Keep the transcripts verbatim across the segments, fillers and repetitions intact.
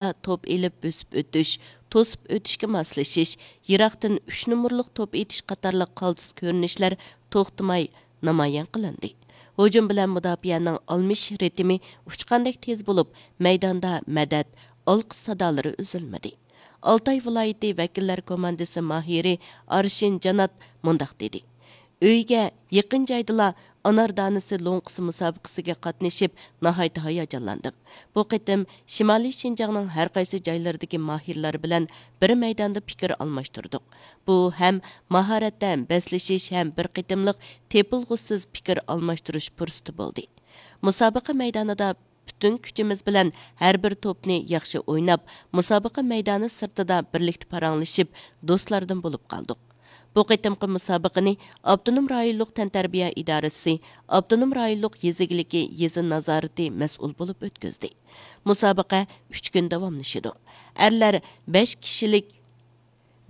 توپ ئېلىپ بۆسۈپ ئۆتۈش، توسۇپ ئۆتۈشكە ماسلىشىش، يىراقتىن ئۈچ نومۇرلۇق توپ ئېتىش قاتارلىق قالتىس كۆرۈنۈشلەر توختىماي نامايان قىلىندى. ھۇجۇم بىلەن مۇداپىئەنىڭ ئالمىشىش رىتىمى ئۇچقاندەك تېز بولۇپ، مەيداندا مەدەت، ئالقىش سادالىرى ئۈزۈلمىدى. ئالتاي ۋىلايىتى ۋەكىللەر كوماندىسى ماھىرى ئارشىن جانات مۇنداق دېدى: ئۆيگە يېقىن جايدىلا ئانار دانىسى لوڭقىسى مۇسابىقىسىگە قاتنىشىپ، ناھايىتى ھاياجانلاندىم. بۇ قېتىم شىمالىي شىنجاڭنىڭ ھەر قايسى جايلىرىدىكى ماھىرلار بىلەن بىر مەيداندا پىكىر ئالماشتۇردۇق. بۇ ھەم ماھارەتتە بەسلىشىش، ھەم بىر قېتىملىق تېپىلغۇسىز پىكىر ئالماشتۇرۇش پۇرسىتى بولدى. مۇسابىقە مەيدانىدا پۈتۈن كۈچىمىز بىلەن ھەر بىر توپنى ياخشى ئويناپ، مۇسابىقە مەيدانى سىرتىدا بىرلىكتە پاراڭلىشىپ، دوستلاردىن بولۇپ قالدۇق. بۇ قېتىمقى مۇسابىقىنى ئاپتونوم رايونلۇق تەنتەربىيە ئىدارىسى، ئاپتونوم رايونلۇق يېزا ئىگىلىكى يېزا نازارىتى مەسئۇل بولۇپ ئۆتكۈزدى. مۇسابىقە ئۈچ كۈن داۋاملىشىدۇ. ئەرلەر بەش كىشىلىك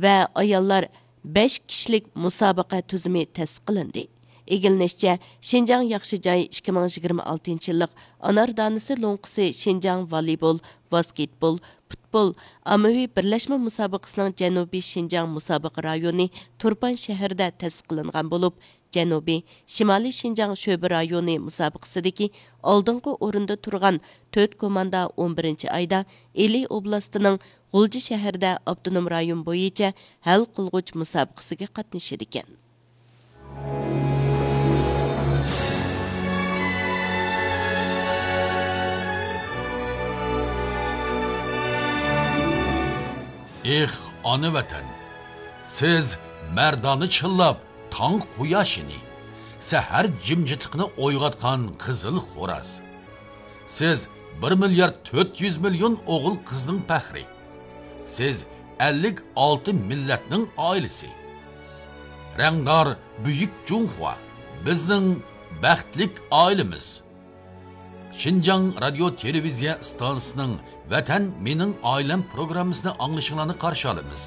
ۋە ئاياللار بەش كىشىلىك مۇسابىقە تۈزۈمى تەسىس قىلىندى. ئىگىلىنىشىچە، شىنجاڭ ياخشى جاي ئىككى مىڭ يىگىرمە ئالتىنچى يىللىق ئانار دانىسى لوڭقىسى شىنجاڭ ۋالىبول، ۋاسكېتبول، پۇتبول ئاممىۋى بىرلەشمە مۇسابىقىسىنىڭ جەنۇبىي شىنجاڭ مۇسابىقە رايونى تۇرپان شەھىرىدە تەسىس قىلىنغان بولۇپ، جەنۇبىي شىمالىي شىنجاڭ شۆبە رايونى مۇسابىقىسىدىكى ئالدىنقى ئورۇندا تۇرغان تۆت كوماندا ئون بىرىنچى ئايدا ئىلى ئوبلاستىنىڭ غۇلجا شەھىرىدە ئاپتونوم رايون بويىچە ھەل قىلغۇچ مۇسابىقىسىگە قاتنىشىدىكەن. ئېھ، ئانا ۋەتەن! سىز مەردانە چىللاپ، تاڭ قۇياشىنى، سەھەر جىمجىتلىقىنى ئويغاتقان قىزىل خوراز. سىز بىر مىليارد تۆت يۈز مىليون ئوغۇل قىزنىڭ پەخرى. سىز ئەللىك ئالتە مىللەتنىڭ ئائىلىسى. رەڭدار بۈيۈك جۇڭخۇا، بىزنىڭ بەختلىك ئائىلىمىز. شىنجاڭ رادىيو تېلېۋىزىيە ئىستانسىسىنىڭ ۋەتەن مېنىڭ ئائىلەم پروگراممىسىنى ئاڭلىشىڭلارنى قارشى ئالىمىز.